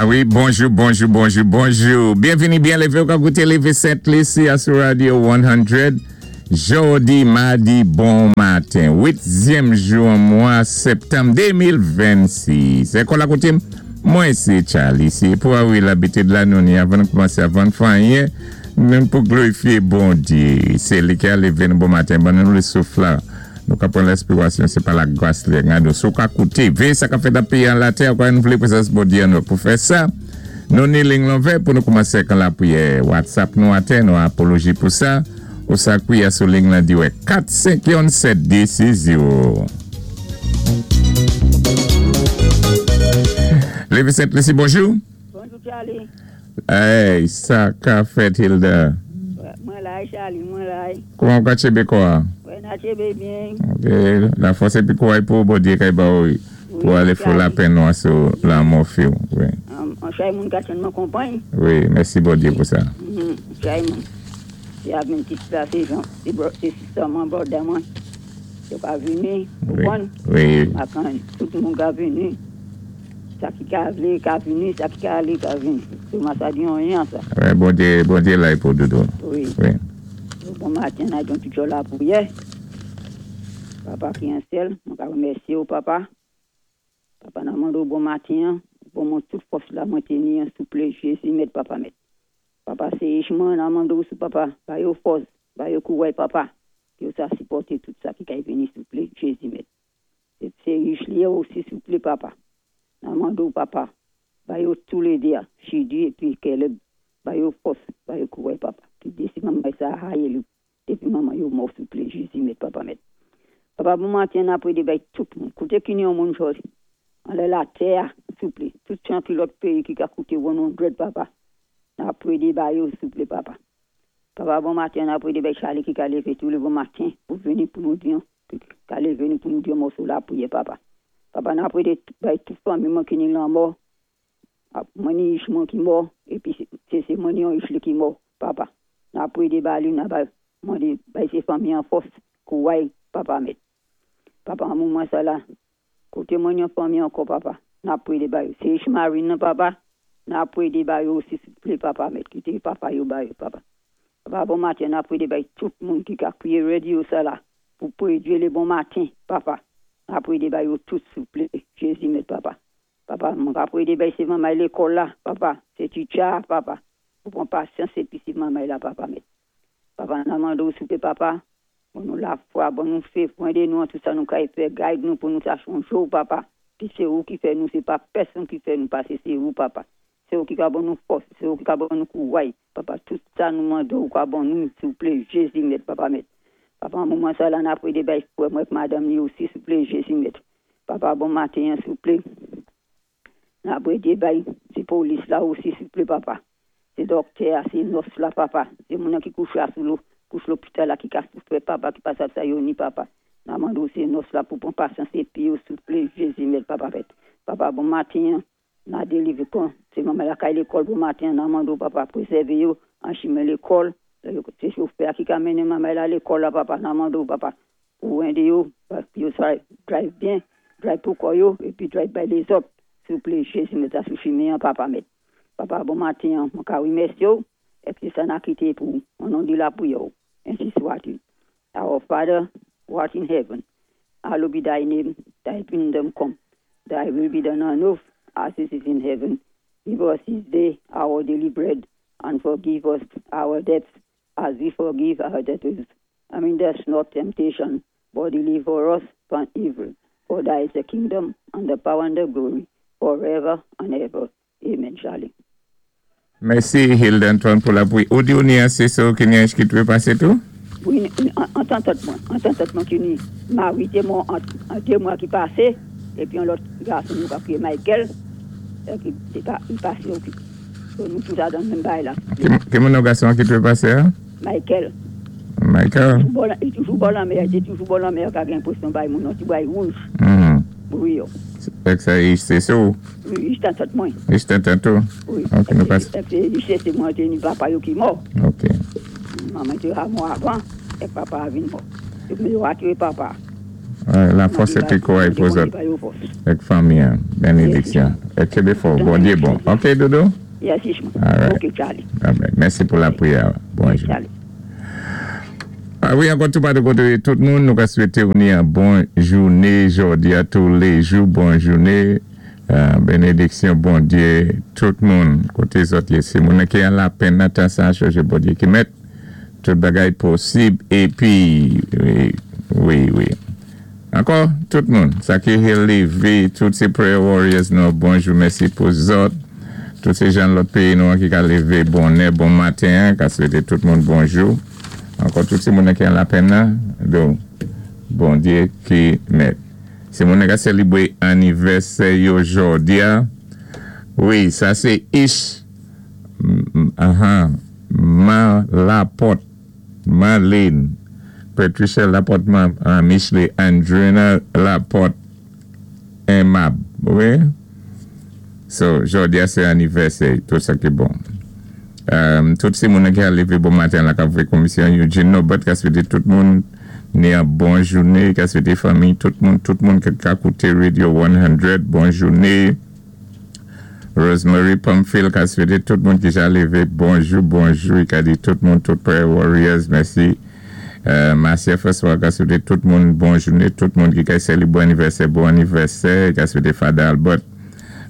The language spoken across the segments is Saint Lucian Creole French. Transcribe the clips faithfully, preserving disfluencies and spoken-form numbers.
Ah wi, bonjou, bonjou, bonjou, bonjou. Byenvini, byen lévé, ou ka kouté Lévé Sent Lisi sou Radio san. Jòdi, madi, bon maten. Uityèm jou an mwa septanm de mil vennsis. É kon la koutim, mwen sé Charlie. Sé pou wi labitid la nou ni avan nou koumansé, avan fè anyen, nou pou glorifié Bondyé. Sé li ki a lévé nou bon maten, ban nou souf la. Nou ka pran lespirasyon, sé pa lagras li. Nou sou ka kouté, véyé sa ka fèt nan péyi an latè, kwa nou vlé prézans Bondyé an nou pou fè sa. Nou ni liy lan ouvè pou nou koumansé kan lapriyè. WhatsApp nou atè, nou apoloji pou sa. Ou sa kwiyé sou liy lan di wè kat senk yon sèt de sis zewo. Lévé Sent Lisi, bonjou. Bonjou, Charlie. Hey, sa ka fèt, Hilda? Mwen la, Charlie, mwen la. Kouman ka tchébé kwa? Wè, na tchébé byen. Ok, lafòs épi kouway pou Bondyé kay ba ou pou alé fò lapenn nou sou lanmò fi ou. Wi. An chay moun ka tèlman konpwann. Wi, mèsi Bondyé pou sa. Mm Chay moun. Se ap yon ti la, sé Jean, sé bro, sé sister mwen, brother mwen. Yo ka vini, konpwann? Wi. Akan, tout moun ka vini. Sa ki ka vlé ka vini, sa ki ka alé ka vini. Mwen sa di anyen sa. Wi, Bondyé, Bondyé la pou doudou. Wi. Wi. Bon maten, na yon ti lapriyè. Papa ki an syèl, mwen ka remèsyé ou, papa. Papa, na mandé bon maten, bon mwen tout fòs la mwen téni, souplé, Jézi mèt, papa mèt. Papa, sé mwen na mandé ou sou papa, ba yo fòs, ba yo kouway, papa. Yo sa sipòté tout sa ki kay vini, souplé, Jézi mèt. Sé rich li osi, souplé, papa. Na mandé ou, papa, ba yo toulédé, Chidi épi Caleb, ba yo fòs, ba yo kouway, papa. Pi dési manman sa hayi li. Dépi manman yo mò, souplé, Jézi mèt, papa mèt. Papa, bon maten, na pwédé bay tout moun. Kouté ki ni yon moun jòdi. Anlè latè, souplé. Tout jan ki lòt péyi ki ka kouté san, papa. Na pwédé bay yo, souplé, papa. Papa, bon maten, na pwédé bay Charlie ki ka lévé tou lé bon maten pou vini pou nou di, ka lévé nou pou nou di mòso lapriyè, papa. Papa, na pwédé bay tout fanmi mwen ki ni lanmò. Mwen ni ich mwen ki mò, épi sé sé mwen ni yon ich li ki mò, papa. Na pwédé ba li, na bay, mwen bay sé fanmi an fòs, kouway, papa mèt. Papa, an mouman sa la, koté mwen yon fanmi ankò, papa, na pwédé bay yo. Sé ich Marine nan, papa, na pwédé bay yo osi, souplé, papa mèt, kité papa yo bay yo, papa. Papa, bon maten, na pwédé bay tout moun ki ka kwiyé radyo sa la, pou pwédé lé bon maten, papa. Na pwédé bay yo tout, souplé, Jézi mèt, papa. Papa, mwen ka pwédé bay sé manmay lékòl la, papa, sé teacher, papa. Pou pwan pasyans épi sé manmay la, papa mèt. Papa, na mandé ou souplé, papa, pou nou lafwa, bon nou fé, édé nou an tout sa nou kay fè, guide nou pou nou sa chonjé ou, papa. Pi sé ou ki fè nou, sé pa pèsonn ki fè nou pasé, sé ou, papa. Sé ou ki ka ban nou fòs, sé ou ki ka ban nou kouway, papa. Tout sa nou mandé ou ka ban nou, souplé, Jézi mèt, papa mèt. Papa, an mouman sa la, na pwédé bay frè mwen madanm li osi, souplé, Jézi mèt. Papa, bon maten, souplé. Na pwédé bay sé polis la osi, souplé, papa. Sé dòktè, sé nurse la, papa. Sé moun ki kouché sou lo, kouch lopital la ki ka soufwé, papa, ki pa sa sa yo ni, papa. Na mandé ou sé nurse la pou pwan pasyans épi yo, souplé, Jézi mèt, papa mèt. Papa, bon maten, na délivré kon, sé manman la kay lékòl bon maten, na mandé ou, papa, prézèvé yo, an chimen lékòl, sé chofè ki ka mennen manman la lékòl la, papa, na mandé ou, papa, pou édé yo, yo sa drive byen, drive pou kò yo, épi drive bay lézòt, souplé, Jézi mèt sa sou chimen, papa mèt. Papa, bon maten, mwen ka remèsyé ou, épi sa na kité pou, an non di lapriyè ou. Ensi swa-t-il. Our Father, who art in heaven, hallowed be thy name, thy kingdom come, thy will be done on earth as it is in heaven. Give us this day our daily bread, and forgive us our debts as we forgive our debtors. And lead us not temptation, but deliver us from evil. For thy is the kingdom, and the power, and the glory, forever and ever. Amen, Charlie. Mèsi Hilda Antoine pou lapriyè. Ou di ou ni an sé so ki ni an ki dwé pasé tou? Wi, an tan tèt mwen, an tan tèt mwen ki ni mari té mò an, an dé mwa ki pasé, épi yon lòt gason nou ka kwiyé Michael, épi li pa, li pasé oki. So, nou tout dan menm bagay la. Ki, ki moun nou gason ki dwé pasé, hein? Michael. Michael? Bò la, li toujou bò lanmè, li toujou bò lanmè, ka gen enpwésyon bay moun, ti bagay wouj. Mhm. Wi, yo. Fait sa sé so. Wi, ich tan tèt mwen. Ich tan tèt tou. Wi. Ok, nou pasé. Épi, sé sé mwen té ni papa yo ki mò. Ok. Manman té mò avan, é papa vin mò. Épi yo a tué papa. Ouais, lafòs épi kouray pou zòt. Bondye ba yo fòs. Avèk fanmi, en. Bénédiksyon. É kenbé fò. Bondyé bon. OK, Dodo? Yes, Ishma. All right. OK, Charlie. All right. Mèsi pou lapriyè. Bonjou. Charlie. Ah wi, ankò tou pa de koté tout moun, nou ka swété ou ni yon bon jouné jòdi a toulé jou, bon jouné, euh, bénédiksyon Bondyé, tout moun, koté zòt yé, si moun ki an lapenn nan tan sa, chonjé Bondyé ki mèt tout bagay posib, épi, wi, wi, wi. Ankò, tout moun, sa ki lévé, tout sé prayer warriors nou, bonjou, mèsi pou zòt, tout sé jan lòt péyi nou ki ka lévé bonè, bon maten, ka swété tout moun bonjou. Ankò tout sé moun ki an lapenn nan, donk, Bondyé ki mèt. Si moun ka sélébwé anivèsè yo jòdi a, wi, sa sé Ish, mm, aha, Ma Laporte, Marlene, Patricia Laporte, Ma, uh, Michelet, Andrina Laporte, Aimable, wi. So, jòdi a sé anivèsè, tout sa ki bon. Um, tout sé moun ki a lévé bon maten la ka vwé komisyon Eugene Norbert ka swété tout moun ni yon bon jouné, ka swété fanmi, tout moun, tout moun ki ka kouté Radio san, bon jouné. Rosemary Pumfield ka swété tout moun ki ja lévé bonjou, bonjou, i ka di tout moun, tout prayer warriors, mèsi. Euh, Marcia François ka swété tout moun bon jouné, tout moun ki ka sélébwé anivèsè, bon anivèsè, i ka swété Father Albert.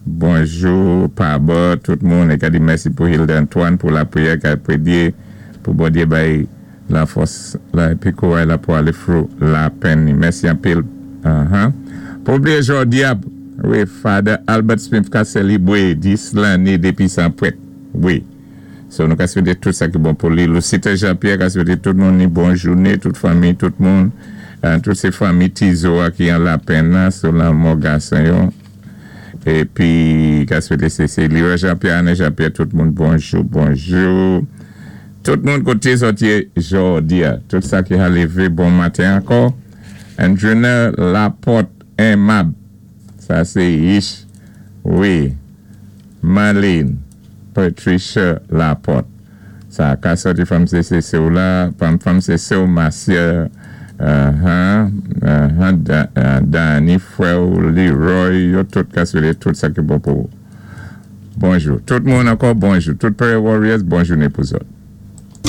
Bonjou, Paba, tout moun, é ka di mèsi pou Hilda Antoine pou lapriyè ka pwédyé pou Bondyé bay lafòs la épi kouray la pou alé through lapenn. Mèsi anpil. Uh-huh. Pa blié jòdi a, wi, Father Albert Smith ka sélébwé dis lanné dépi san pwèt. Wi. So nou ka swété tout sa ki bon pou li. Lucita Jean-Pierre ka swété tout moun ni bon jouné, tout fanmi, tout moun, euh, tout sé fanmi Tizo a ki an lapenn la, sou lanmò gason yo. Épi, ka swété sé sé Leroy Jean-Pierre, Anne Jean-Pierre, tout moun bonjou, bonjou. Tout moun koté zòt yé jòdi a, tout sa ki a lévé bon maten ankò. Andrina Laporte Aimable, sa sé Ish, wi. Marlene, Patricia Laporte. Sa ka sòti fanm sé sé sé ou la, fanm fanm sé sé ou Marcia, uh-huh, uh-huh, Da- uh, Danny, frè Leroy, yo tout ka swété tout sa ki bon pou. Bonjou. Tout moun ankò, bonjou. Tout prayer warriors, bon jouné pou zòt.